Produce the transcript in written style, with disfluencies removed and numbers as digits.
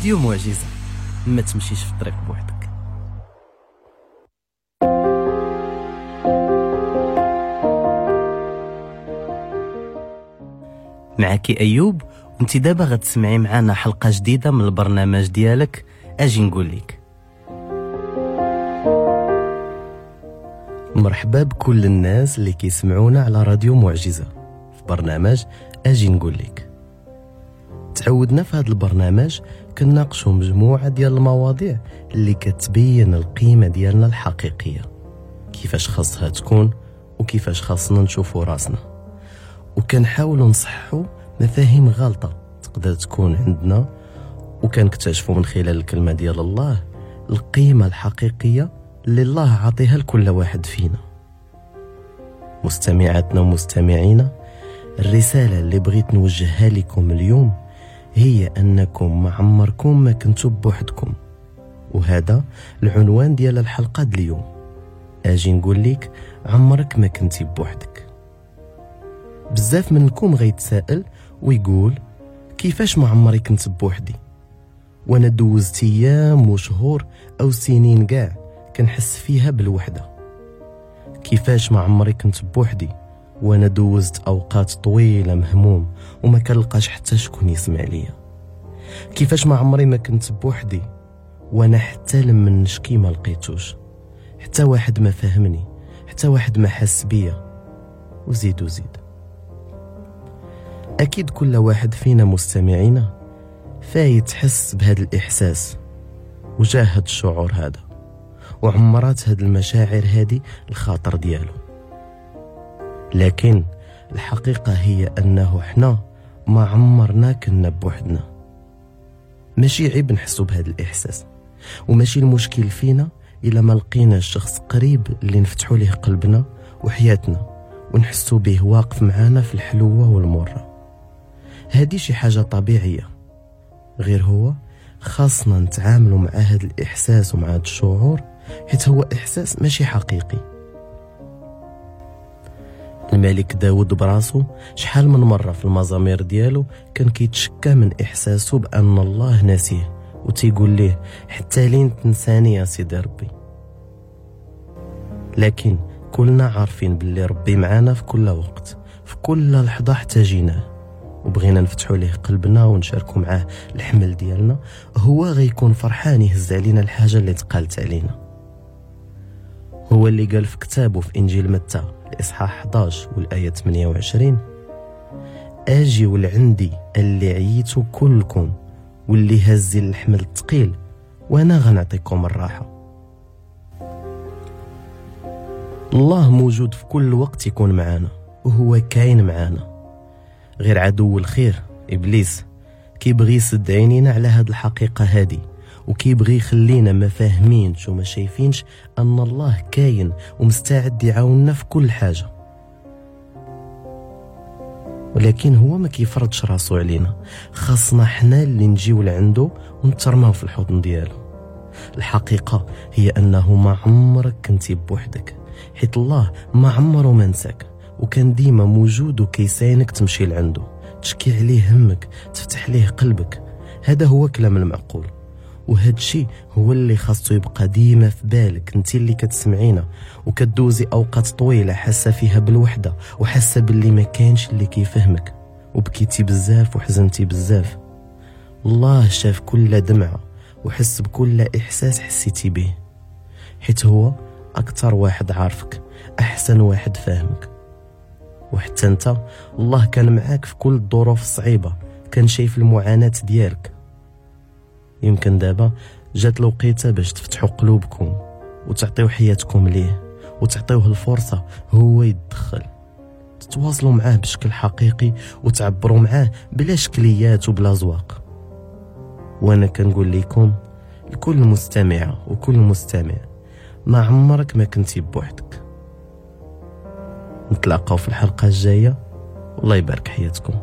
راديو معجزة، ما تمشيش في الطريق بوحدك. معك أيوب، وانت دابا غتسمعي معنا حلقة جديدة من البرنامج ديالك أجي نقول لك. مرحبا بكل الناس اللي كيسمعونا على راديو معجزة في برنامج أجي نقول لك. تعودنا في هذا البرنامج كنناقشوا مجموعة ديال المواضيع اللي كتبين القيمة ديالنا الحقيقية، كيفاش خاصها تكون وكيفاش خاصنا نشوفوا راسنا، وكنحاولوا نصححوا مفاهيم غلطة تقدر تكون عندنا، وكنكتشفوا من خلال الكلمة ديال الله القيمة الحقيقية اللي الله عطيها لكل واحد فينا. مستمعاتنا ومستمعينا، الرسالة اللي بغيت نوجهها لكم اليوم هي أنكم ما عمركم ما كنتوا بوحدكم، وهذا العنوان ديال الحلقة ديال اليوم. أجي نقول لك عمرك ما كنتي بوحدك. بزاف منكم غيتساءل ويقول كيفاش ما عمري كنت بوحدي وانا دوزت ايام وشهور او سنين كاع كنحس فيها بالوحده؟ كيفاش ما عمري كنت بوحدي وانا دوزت اوقات طويله مهموم وما كنلقاش حتى شكون يسمع ليا؟ كيفاش ما عمري ما كنت بوحدي وانا حتى لما نشكي ما لقيتوش، حتى واحد ما فهمني، حتى واحد ما حس بيا، وزيد وزيد. أكيد كل واحد فينا مستمعينا فايت حس بهذا الإحساس وجاهد الشعور هذا وعمرات هاد المشاعر هذه الخاطر ديالو. لكن الحقيقة هي أنه حنا ما عمرنا كنا بوحدنا. ماشي عيب نحسو بهذا الإحساس، وماشي المشكل فينا إلا ما لقينا الشخص قريب اللي نفتحو ليه قلبنا وحياتنا ونحسو به واقف معانا في الحلوة والمرة. هذه شي حاجة طبيعية، غير هو خاصنا نتعاملوا مع هذا الإحساس ومع هذا الشعور، حيت هو إحساس ماشي حقيقي. الملك داود براسو شحال من مرة في المزامير ديالو كان كيتشكى من إحساسه بأن الله ناسيه، وتيقول ليه حتى لين تنساني يا سيدي ربي. لكن كلنا عارفين باللي ربي معانا في كل وقت، في كل لحظة احتاجيناه وبغينا نفتحوا ليه قلبنا ونشاركوا معاه الحمل ديالنا، هو غيكون فرحان يهز علينا الحاجة اللي تقالت علينا. هو اللي قال في كتابه في إنجيل متى الإصحاح 11 والآية 28: أجي ولعندي اللي عييتوا كلكم واللي هزي الحمل الثقيل وأنا غنعطيكم الراحة. الله موجود في كل وقت يكون معانا وهو كاين معانا، غير عدو الخير إبليس كيبغي يسد عينينا على هاد الحقيقة هادي، وكيبغي يخلينا ما فاهمينش وما شايفينش أن الله كاين ومستعد يعاوننا في كل حاجة. ولكن هو ما كيفرضش راسو علينا، خاصنا حنا اللي نجيو لعندو ونترماو في الحضن ديالو. الحقيقة هي أنه ما عمرك كنتي بوحدك، حيت الله ما عمره ما نساك، وكان ديما موجود وكيساينك تمشي لعنده، تشكي عليه همك، تفتح ليه قلبك. هذا هو كلام المعقول، وهذا الشيء هو اللي خاصو يبقى ديما في بالك انت اللي كتسمعينا وكدوزي اوقات طويله حاسه فيها بالوحده وحاسه باللي ما كاينش اللي كيفهمك، وبكيتي بزاف وحزنتي بزاف. الله شاف كل دمعه وحس بكل احساس حسيتي به، حيت هو اكثر واحد عارفك، احسن واحد فاهمك. وحتى انت الله كان معاك في كل الظروف الصعيبه، كان شايف المعاناه ديالك. يمكن دابا جات الوقيته باش تفتحوا قلوبكم وتعطيو حياتكم ليه، وتعطيوه الفرصه هو يتدخل، تتواصلوا معاه بشكل حقيقي وتعبروا معاه بلا شكليات وبلا زواق. وانا كنقول لكم لكل مستمعه وكل مستمع، ما عمرك ما كنتي بوحدك. نتلاقاو في الحلقه الجايه، والله يبارك حياتكم.